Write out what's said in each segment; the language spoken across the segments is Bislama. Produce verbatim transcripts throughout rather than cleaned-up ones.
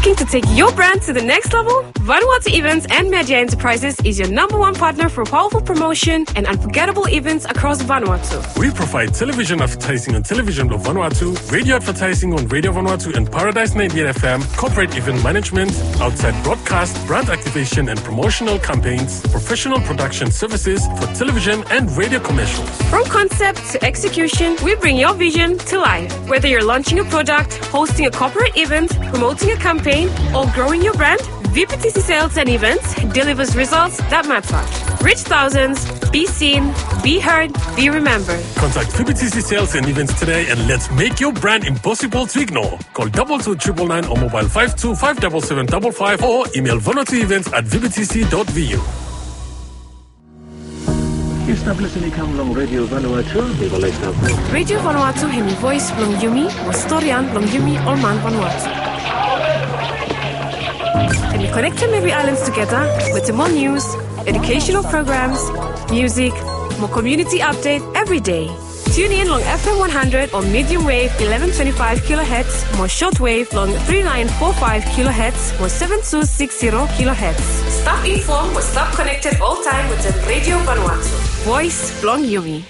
Looking to take your brand to the next level? Vanuatu Events and Media Enterprises is your number one partner for powerful promotion and unforgettable events across Vanuatu. We provide television advertising on Television Blue Vanuatu, radio advertising on Radio Vanuatu and Paradise ninety-eight F M, corporate event management, outside broadcast, brand activation and promotional campaigns, professional production services for television and radio commercials. From concept to execution, we bring your vision to life. Whether you're launching a product, hosting a corporate event, promoting a campaign, or growing your brand, V P T C Sales and Events delivers results that matter. Reach thousands, be seen, be heard, be remembered. Contact V P T C Sales and Events today and let's make your brand impossible to ignore. Call double two triple nine or mobile five two five double seven double five or email vanuatu events at V P T C dot V U. Yu stap lisin i kam long Radio Vanuatu, mi go laik stap. Radio Vanuatu hemi voes blong yumi, mo storian blong yumi ol man Vanuatu. Hemi konektem evri aelan tugeta wetem ol nius, educational programs, music, mo community update evri dei. Tune in long F M one hundred o medium wave eleven twenty-five kilohertz, mo short wave long three nine four five kilohertz, mo seven two six zero kilohertz. Stap inform mo stap konekted oltaem wetem Radio Vanuatu. Voes blong yumi.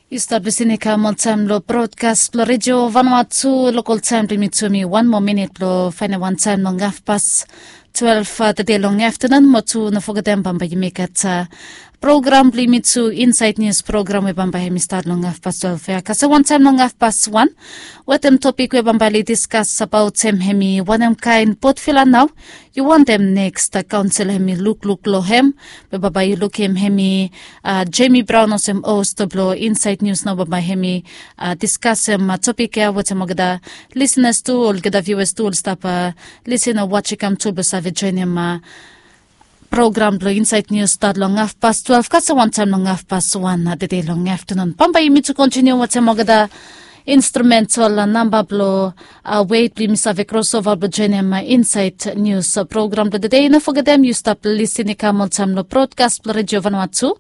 Yu stap lisin i kam oltaem long brodkas blong Radio Vanuatu, lokol taem blong yumi tu hemi wan moa minit blong faenem wan taem long hafpas twelve tede long aftanun, mo tu no fogetem bambae yumi gat program blong yumi tu, Insaed Nius program we bambae hemi stat long hafpas twelve ya kasem wan taem long hafpas wan, wetem topik we bambae oli diskas abaot hem hemi wanem kaen potvila nao yu wantem neks kaonsel hemi lukluk long hem. We bambae yu lukim hemi Jamie Brown olsem host blong Insaed Nius nao, bambae hemi diskasem topik ya wetem olgeta lisenas tu, olgeta viuas tu oli stap lisin o wajem i kam tu blong save joenem program blong Insaed Nius stat long hafpas twelve kasem wan taem long hafpas wan tede long aftanun. Bambae yumi tu kontiniu wetem olgeta instrumental namba blong wet blong yumi save krosova blong joenem Insaed Nius program blong tede. No fogetem yu stap lisin i kam oltaem long brodkas blong Radio Vanuatu,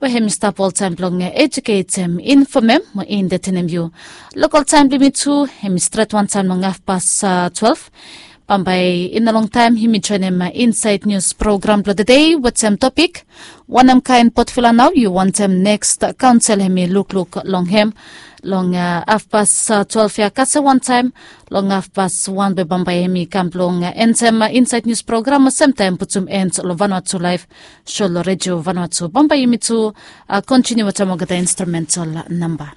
we hemi stap oltaem blong ejuketem, infomem mo entetenem yu. Lokol taem blong yumi tu hemi stret wan taem long hafpas twelve. Bambae i no longtaem yumi joenem Insaed Nius program blong tede wetem topik wanem kaen potvila nao yu wantem neks kaonsel hemi lukluk long hem, long hafpas twelve ya kasem wan taem long hafpas wan, we bambae hemi kam blong entem Insaed Nius program mo semtaem putum en long Vanuatu Laef So long Radio Vanuatu. Bambae yumi tu kontiniu wetem olgeta instrumental namba.